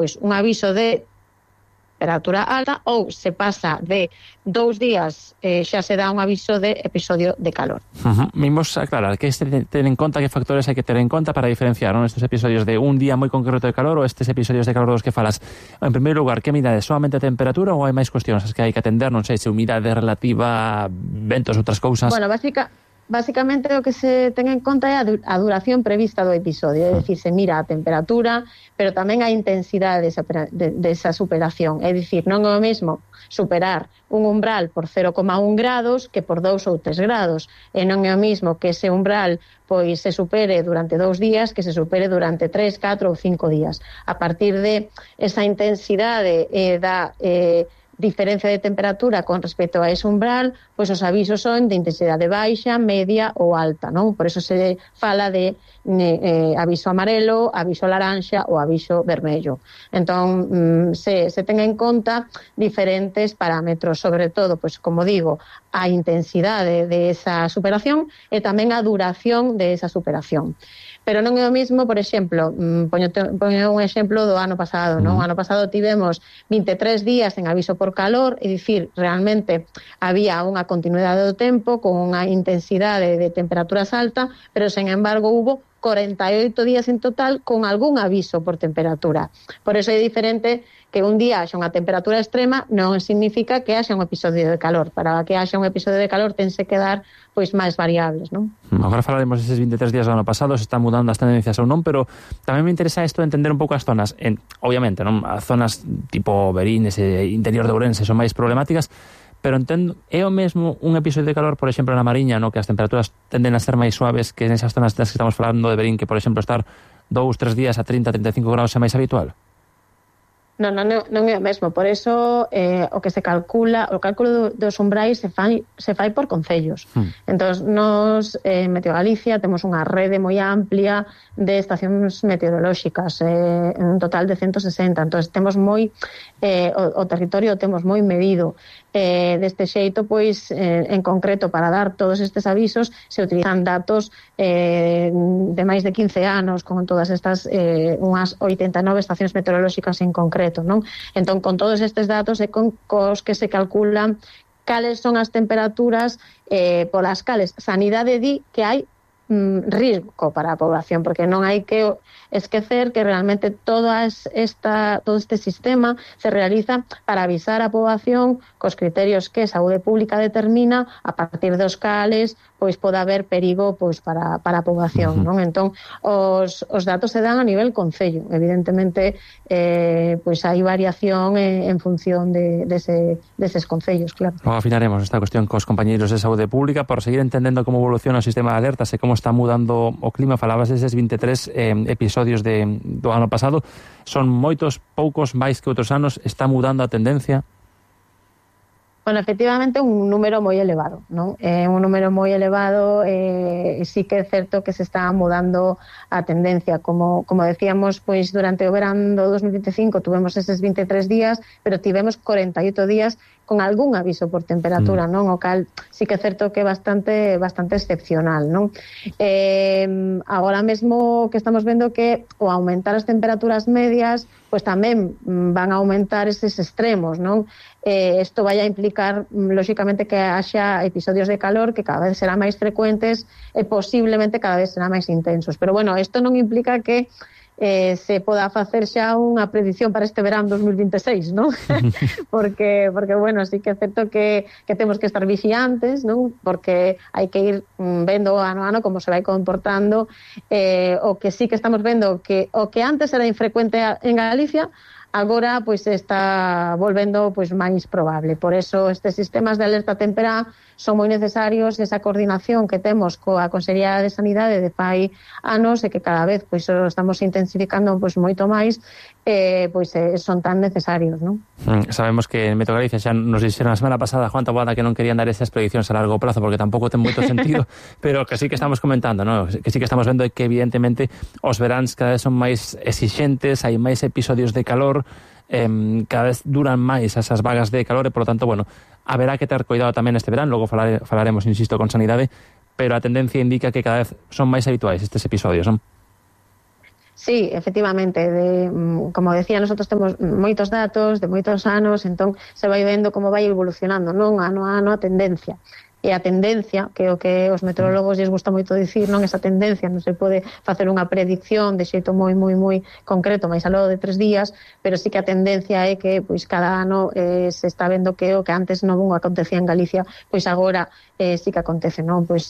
pois un aviso de temperatura alta, ou se pasa de 2 días xa se dá un aviso de episodio de calor. Vimos aclarar que ten en conta que factores hai que ter en conta para diferenciar, non, estes episodios de un día moi concreto de calor ou estes episodios de calor dos que falas. En primeiro lugar, que medida é solamente a temperatura ou hai máis cuestións as que hai que atender, non sei, se humidade relativa, ventos, outras cousas? Bueno, Básicamente o que se ten en conta é a duración prevista do episodio, é dicir, se mira a temperatura, pero tamén a intensidade desa superación. É dicir, non é o mesmo superar un umbral por 0,1 grados que por 2 ou 3 grados. E non é o mesmo que ese umbral pois se supere durante 2 días que se supere durante 3, 4 ou 5 días. A partir de esa intensidade da diferencia de temperatura con respecto a ese umbral, pois os avisos son de intensidade baixa, media ou alta, non? Por eso se fala de aviso amarelo, aviso laranxa ou aviso vermello. Entón, se ten en conta diferentes parámetros, sobre todo, pois como digo, a intensidade de esa superación e tamén a duración de esa superación. Pero non é o mismo, por exemplo, poño un exemplo do ano pasado, non? O ano pasado tivemos 23 días en aviso por calor, é dicir, realmente había unha continuidade do tempo con unha intensidade de temperaturas alta, pero, sen embargo, hubo 48 días en total con algún aviso por temperatura. Por eso é diferente que un día haxa unha temperatura extrema, non significa que haxa un episodio de calor. Para que haxa un episodio de calor tense que dar pois máis variables, non? Agora falaremos deses 23 días do ano pasado, se están mudando as tendencias ou non, pero tamén me interesa isto de entender un pouco as zonas. Obviamente, non, as zonas tipo Verín, ese interior de Ourense son máis problemáticas, pero entendo, é o mesmo un episodio de calor, por exemplo, na Mariña, no, que as temperaturas tenden a ser máis suaves que nesas zonas das que estamos falando de Verín, que, por exemplo, estar 2-3 días a 30-35 graus é máis habitual? Non é o mesmo, por eso o que se calcula, o cálculo dos umbrais se fai por concellos. Entón, nos en Meteo Galicia temos unha rede moi amplia de estacións meteorolóxicas, un total de 160, entón temos moi o territorio temos moi medido. Deste xeito, pois, en concreto, para dar todos estes avisos se utilizan datos de máis de 15 anos con todas estas unhas 89 estacións meteorolóxicas en concreto, non? Entón, con todos estes datos e con cos que se calculan cales son as temperaturas polas cales Sanidade di que hai risco para a población, porque non hai que esquecer que realmente todo este sistema se realiza para avisar a poboación cos criterios que a saúde pública determina, a partir dos cales pois pode haber perigo pois para a poboación, non? Entón, os datos se dan a nivel concello. Evidentemente, pois hai variación en función deses concellos, claro. Logo afinaremos esta cuestión cos compañeiros de saúde pública por seguir entendendo como evoluciona o sistema de alertas e como está mudando o clima. Falabas deses 23 episodios do ano pasado. Son moitos, poucos, máis que outros anos. Está mudando a tendencia? Bueno, efectivamente, un número moi elevado, non? Un número moi elevado, sí que é certo que se está mudando a tendencia. Como decíamos, pois durante o verán do 2025 tuvemos eses 23 días, pero tivemos 48 días con algún aviso por temperatura, non? O cal sí que é certo que é bastante excepcional, non? Agora mesmo que estamos vendo que ao aumentar as temperaturas medias, pois tamén van a aumentar eses extremos, non? Isto vai a implicar, lóxicamente, que haxa episodios de calor que cada vez serán máis frecuentes e posiblemente cada vez serán máis intensos. Pero, bueno, isto non implica que se poda facer xa unha predición para este verán 2026, non? porque, bueno, sí que é certo que temos que estar vixiantes, non? Porque hai que ir vendo ano a ano como se vai comportando. O que sí que estamos vendo que o que antes era infrecuente en Galicia, agora pois está volvendo pois máis probable. Por eso estes sistemas de alerta temperá son moi necesarios, esa coordinación que temos coa Consellería de Sanidade de fai anos e que cada vez pois estamos intensificando pois moito máis, pois son tan necesarios, non? Sabemos que en Meteo Galicia xa nos dixeron a semana pasada, Juan Taboada, que non querían dar esas prediccións a largo prazo porque tampouco ten moito sentido, pero que sí que estamos comentando, ¿no? Que sí que estamos vendo que evidentemente os veráns cada vez son máis exixentes, hai máis episodios de calor, cada vez duran máis esas vagas de calor e, por lo tanto, bueno, haberá que ter cuidado tamén este verán, logo falaremos, insisto, con Sanidade, pero a tendencia indica que cada vez son máis habituais estes episodios, non? Sí, efectivamente, como decía, nosotros temos moitos datos de moitos anos, entón se vai vendo como vai evolucionando, non ano a ano a tendencia. E a tendencia, que é o que os meteorólogos lles gusta moito dicir, non, esa tendencia non se pode facer unha predicción de xeito moi concreto, máis aló de 3 días, pero sí que a tendencia é que pois cada ano se está vendo que o que antes non acontecía en Galicia, pois agora sí que acontece, non? Pois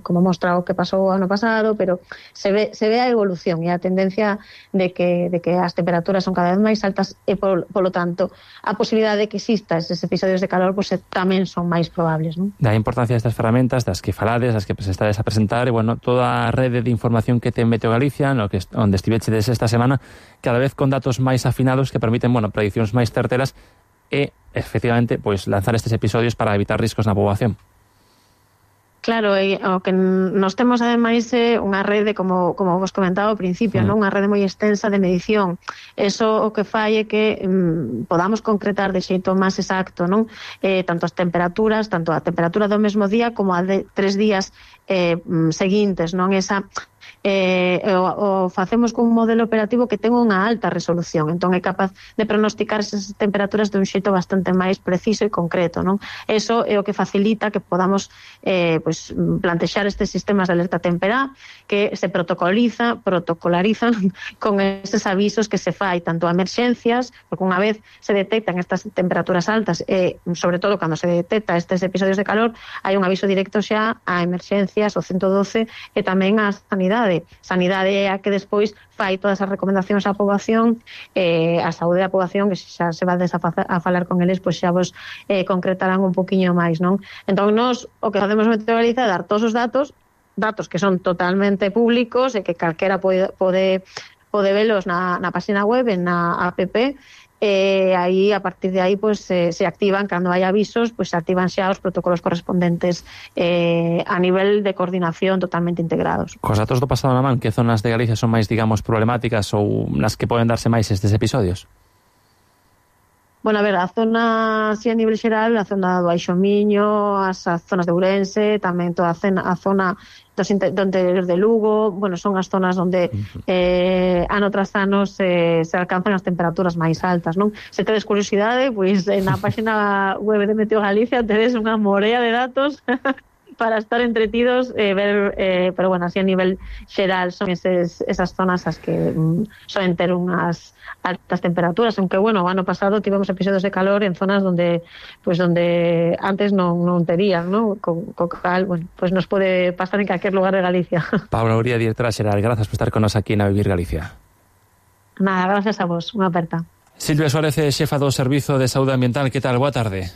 como mostra o que pasou o ano pasado, pero se ve a evolución e a tendencia de que as temperaturas son cada vez máis altas e polo tanto a posibilidade de que exista esos episodios de calor pois tamén son máis probables, non? Da importancia destas ferramentas, das que falades, das que estades a presentar, e, bueno, toda a rede de información que ten Meteo Galicia, onde estivechedes esta semana, cada vez con datos máis afinados que permiten, bueno, prediccións máis certeras e, efectivamente, pois lanzar estes episodios para evitar riscos na poboación. Claro, e o que nos temos ademais é unha rede, como vos comentaba ao principio, non? Unha rede moi extensa de medición. Eso o que fai é que podamos concretar de xeito máis exacto, non? Tanto a temperatura do mesmo día como a de 3 días seguintes, non? Esa o facemos con un modelo operativo que ten unha alta resolución, entón é capaz de pronosticar esas temperaturas de un xeito bastante máis preciso e concreto, non? Eso é o que facilita que podamos pois plantexar estes sistemas de alerta temperá que se protocolarizan con eses avisos que se fai tanto a emerxencias, porque unha vez se detectan estas temperaturas altas e sobre todo cando se detecta estes episodios de calor, hai un aviso directo xa a emerxencias, o 112 e tamén a sanidade. Sanidade é a que despois fai todas as recomendacións á poboación, a saúde da poboación, que xa se va a falar con eles, pois xa vos concretarán un poquinho máis, non? Entón, nós o que facemos en Meteo Galicia é dar todos os datos que son totalmente públicos e que calquera pode velos na página web, na app, aí a partir de aí pues se activan cando hai avisos, pues se activan xa os protocolos correspondentes a nivel de coordinación totalmente integrados. Cos datos do pasado na man, que zonas de Galicia son máis, digamos, problemáticas ou nas que poden darse máis estes episodios? Bueno, a ver, a zona, así a nivel xeral, a zona do Baixo Miño, as zonas de Ourense, tamén toda a zona do interior de Lugo, bueno, son as zonas onde ano tras ano se alcanzan as temperaturas máis altas, non? Se tedes curiosidade, pois na página web de Meteo Galicia tedes unha morea de datos para estar entretidos, pero bueno, así a nivel xeral son esas zonas as que soen ter unhas altas temperaturas, aunque bueno, o ano pasado tivemos episodios de calor en zonas donde antes non terían, ¿no? Co cal, bueno, pues nos pode pasar en calquer lugar de Galicia. Paula Uría, directora xeral, grazas por estar con nos aquí na Vivir Galicia. Nada, gracias a vos, unha aperta. Silvia Suárez, xefa do Servizo de Saúde Ambiental, que tal? Boa tarde.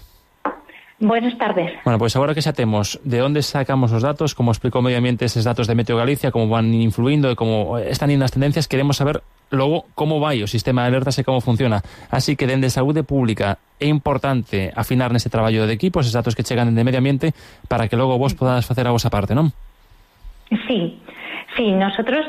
Buenas tardes. Bueno, pois agora que xa temos de onde sacamos os datos, como explicou o Medio Ambiente eses datos de Meteo Galicia, como van influindo e como están indo as tendencias, queremos saber logo como vai o sistema de alertas e como funciona. Así que dende Saúde Pública é importante afinar neste traballo de equipo eses datos que chegan dende Medio Ambiente para que logo vos podades facer a vosa parte, non? Sí, nosotros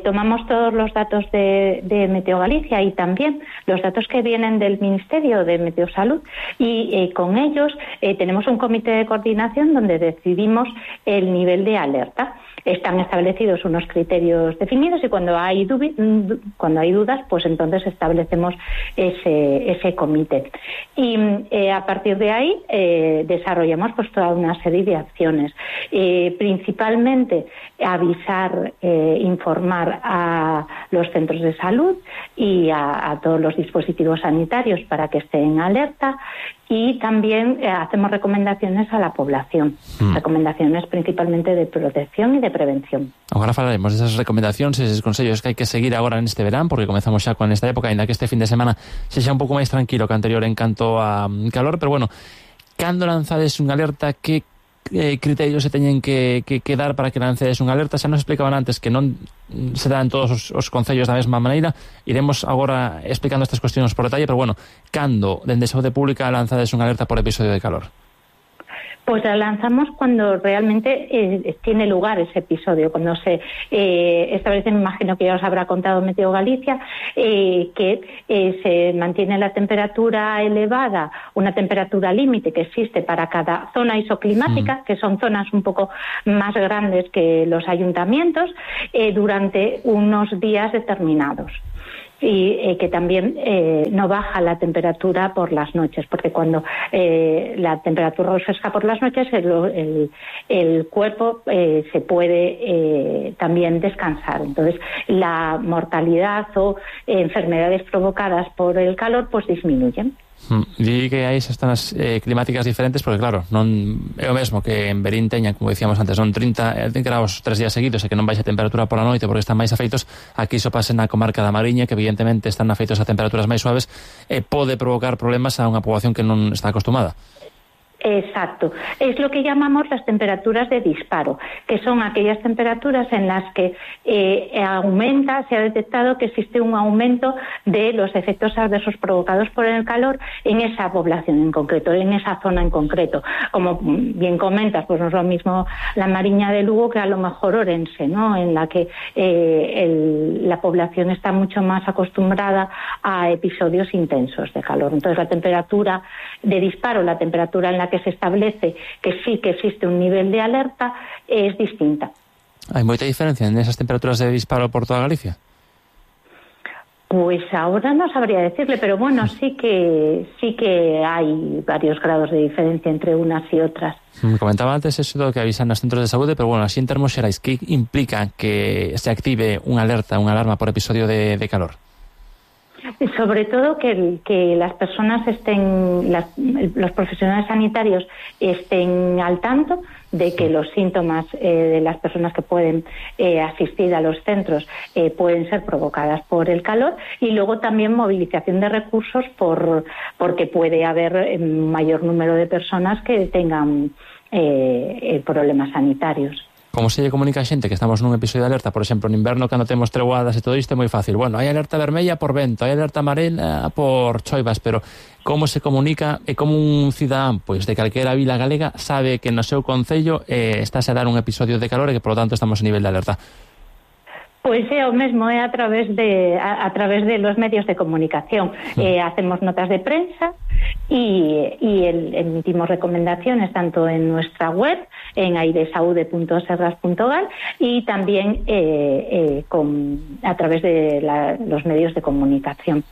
tomamos todos los datos de Meteo Galicia y también los datos que vienen del Ministerio de Meteosalud y con ellos tenemos un comité de coordinación donde decidimos el nivel de alerta. Están establecidos unos criterios definidos y cuando hay dudas, pues entonces establecemos ese comité. Y a partir de ahí desarrollamos pues toda una serie de acciones. Principalmente avisar, informar a los centros de salud y a todos los dispositivos sanitarios para que estén en alerta, y también hacemos recomendaciones a la población, recomendaciones principalmente de protección y de prevención. Agora falaremos desas recomendacións e eses consellos que hai que seguir agora neste verán, porque comezamos xa con esta época, ainda que este fin de semana sexa un pouco máis tranquilo que anterior en canto a calor, pero bueno, cando lanzades unha alerta, que criterios se teñen que dar para que lancedes unha alerta? Xa nos explicaban antes que non se dan todos os concellos da mesma maneira. Iremos agora explicando estas cuestións por detalle, pero bueno, cando dende Saúde Pública lanzades unha alerta por episodio de calor? Pues la lanzamos cuando realmente tiene lugar ese episodio, cuando se establece, me imagino que ya os habrá contado Meteo Galicia, que se mantiene la temperatura elevada, una temperatura límite que existe para cada zona isoclimática, que son zonas un poco más grandes que los ayuntamientos, durante unos días determinados. Y que también no baja la temperatura por las noches, porque cuando la temperatura refresca por las noches, el cuerpo se puede también descansar. Entonces, la mortalidad o enfermedades provocadas por el calor pues disminuyen. Di que hai esas zonas climáticas diferentes, porque claro, non é o mesmo que en Verín teñan, como dicíamos antes, son 30 graus 3 días seguidos e que non baixa a temperatura pola noite porque están máis afeitos. Aquí iso pasa na comarca da Mariña, que evidentemente están afeitos a temperaturas máis suaves e pode provocar problemas a unha poboación que non está acostumada. Exacto. Es lo que llamamos las temperaturas de disparo, que son aquellas temperaturas en las que se ha detectado que existe un aumento de los efectos adversos provocados por el calor en esa población en concreto, en esa zona en concreto. Como bien comentas, pues no es lo mismo la Mariña de Lugo que a lo mejor Orense, ¿no? En la que la población está mucho más acostumbrada a episodios intensos de calor. Entonces la temperatura de disparo, la temperatura en la que se establece que sí que existe un nivel de alerta, es distinta. ¿Hay mucha diferencia en esas temperaturas de disparo por toda Galicia? Pues ahora no sabría decirle, pero bueno, sí que hay varios grados de diferencia entre unas y otras. Comentaba antes eso de que avisan los centros de salud, pero bueno, así en termos xerais, ¿qué implica que se active una alerta, una alarma por episodio de calor? Sobre todo que las personas los profesionales sanitarios estén al tanto de que los síntomas de las personas que pueden asistir a los centros pueden ser provocadas por el calor, y luego también movilización de recursos porque puede haber mayor número de personas que tengan problemas sanitarios. Como se lle comunica a xente que estamos nun episodio de alerta, por exemplo, en inverno, cando temos treguadas e todo isto, é moi fácil. Bueno, hai alerta vermella por vento, hai alerta amarela por choivas, pero como se comunica e como un cidadán pois de calquera vila galega sabe que no seu concello estáse a dar un episodio de calor e que, por lo tanto, estamos a nivel de alerta? Pois é o mesmo, é a través de los medios de comunicación. Hacemos notas de prensa y emitimos recomendaciones tanto en nuestra web, en airesaude.serras.gal, y también a través de los medios de comunicación.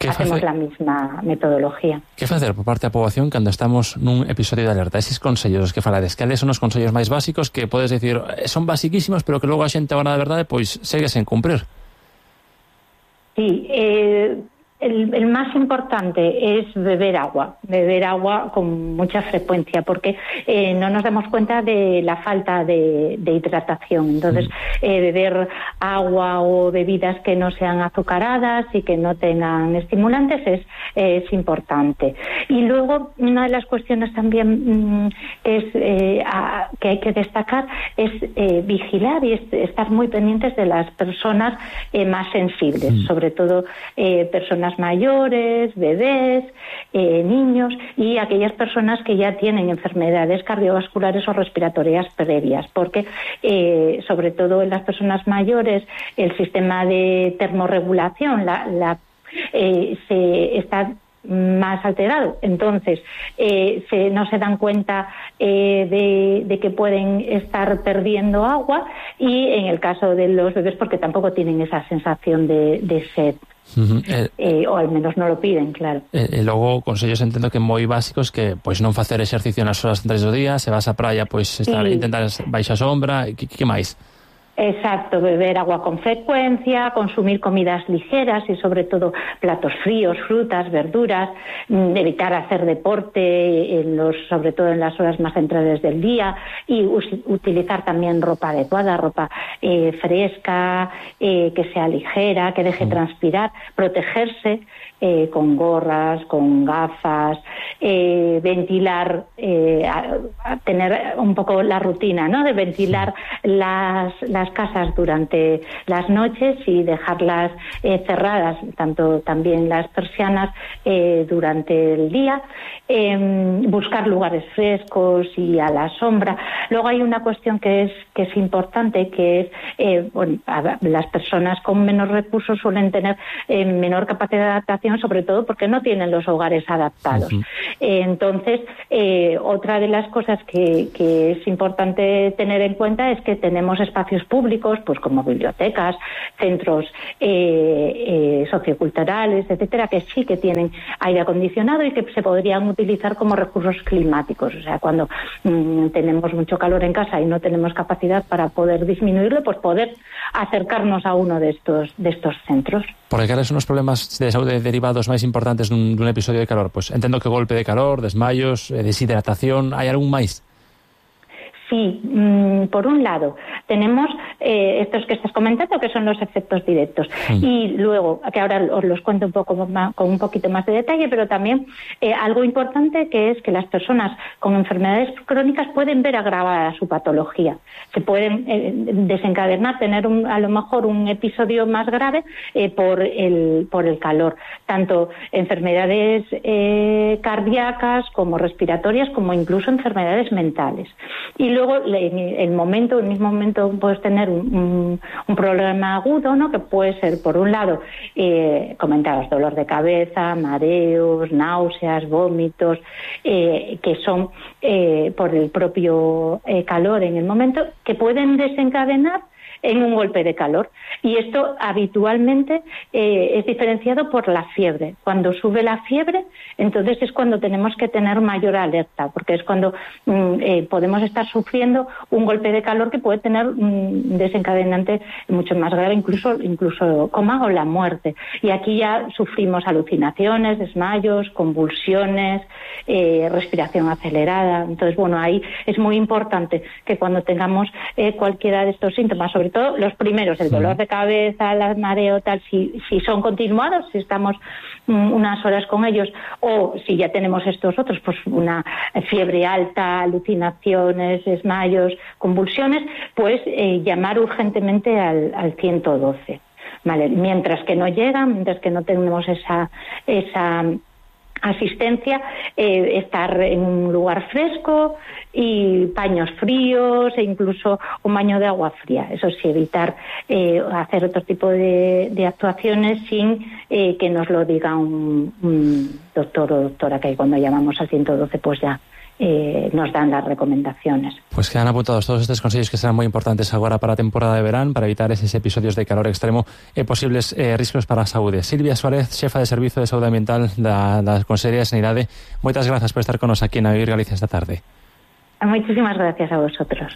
Hacemos la misma metodología. Que facer por parte da poboación cando estamos nun episodio de alerta? Eses consellos que falades, cales son os consellos máis básicos que podes dicir son basiquísimos, pero que logo a xente, a hora da verdade, pois segue sen cumprir? Sí, el más importante es beber agua con mucha frecuencia, porque no nos damos cuenta de la falta de hidratación. Entonces, beber agua o bebidas que no sean azucaradas y que no tengan estimulantes es importante. Y luego, una de las cuestiones también que hay que destacar es vigilar y estar muy pendientes de las personas más sensibles, sobre todo personas mayores, bebés, niños y aquellas personas que ya tienen enfermedades cardiovasculares o respiratorias previas, porque sobre todo en las personas mayores el sistema de termorregulación se está más alterado, entonces no se dan cuenta de que pueden estar perdiendo agua, y en el caso de los bebés porque tampoco tienen esa sensación de sed. O al menos non lo piden, claro. Logo, consellos entendo que moi básicos, que pois non facer exercicio nas horas centrais do día, se vas á praia, pois intentar baixar sombra, que máis? Exacto, beber agua con frecuencia, consumir comidas ligeras y sobre todo platos fríos, frutas, verduras, evitar hacer deporte, sobre todo en las horas más centrales del día, y utilizar también ropa adecuada, ropa fresca, que sea ligera, que deje transpirar, protegerse con gorras, con gafas, ventilar, tener un poco la rutina, ¿no?, de ventilar las las casas durante las noches y dejarlas cerradas, tanto también las persianas durante el día, buscar lugares frescos y a la sombra. Luego hay una cuestión que es importante, que es las personas con menos recursos suelen tener menor capacidad de adaptación, sobre todo porque no tienen los hogares adaptados. Entonces, otra de las cosas que es importante tener en cuenta es que tenemos espacios públicos, pues como bibliotecas, centros socioculturales, etcétera, que sí que tienen aire acondicionado y que se podrían utilizar como recursos climáticos. O sea, cuando tenemos mucho calor en casa y no tenemos capacidad para poder disminuirlo, pues poder acercarnos a uno de estos centros. Porque cales son os problemas de saúde derivados máis importantes dun episodio de calor? Pois entendo que golpe de calor, desmayos, deshidratación, hai algún máis? Sí, por un lado tenemos estos que estás comentando, que son los efectos directos, y luego, que ahora os los cuento un poco más, con un poquito más de detalle, pero también algo importante, que es que las personas con enfermedades crónicas pueden ver agravada su patología, se pueden desencadenar, tener a lo mejor un episodio más grave por el calor, tanto enfermedades cardíacas como respiratorias, como incluso enfermedades mentales. Y luego, en el mismo momento puedes tener un problema agudo, ¿no? Que puede ser, por un lado, comentados, dolor de cabeza, mareos, náuseas, vómitos, que son por el propio calor en el momento, que pueden desencadenar en un golpe de calor. Y esto habitualmente es diferenciado por la fiebre. Cuando sube la fiebre, entonces es cuando tenemos que tener mayor alerta, porque es cuando podemos estar sufriendo un golpe de calor que puede tener un desencadenante mucho más grave, incluso coma o la muerte. Y aquí ya sufrimos alucinaciones, desmayos, convulsiones, respiración acelerada. Entonces, bueno, ahí es muy importante que cuando tengamos cualquiera de estos síntomas, sobre todo los primeros, el dolor de cabeza, el mareo, tal, si son continuados, si estamos unas horas con ellos, o si ya tenemos estos otros, pues una fiebre alta, alucinaciones, desmayos, convulsiones, pues llamar urgentemente al 112. Vale, mientras que no llegan, mientras que no tenemos esa asistencia, estar en un lugar fresco y paños fríos e incluso un baño de agua fría. Eso sí, evitar hacer otro tipo de actuaciones sin que nos lo diga un doctor o doctora, que cuando llamamos al 112 pues ya nos dan las recomendaciones. Pues quedan apuntados todos estes consellos que serán moi importantes agora para a temporada de verán, para evitar eses episodios de calor extremo e posibles riscos para a saúde. Silvia Suárez, xefa de Servizo de Saúde Ambiental da Consellería de Sanidade, moitas grazas por estar con nos aquí na Vivir Galicia esta tarde. Muchísimas gracias a vosotros.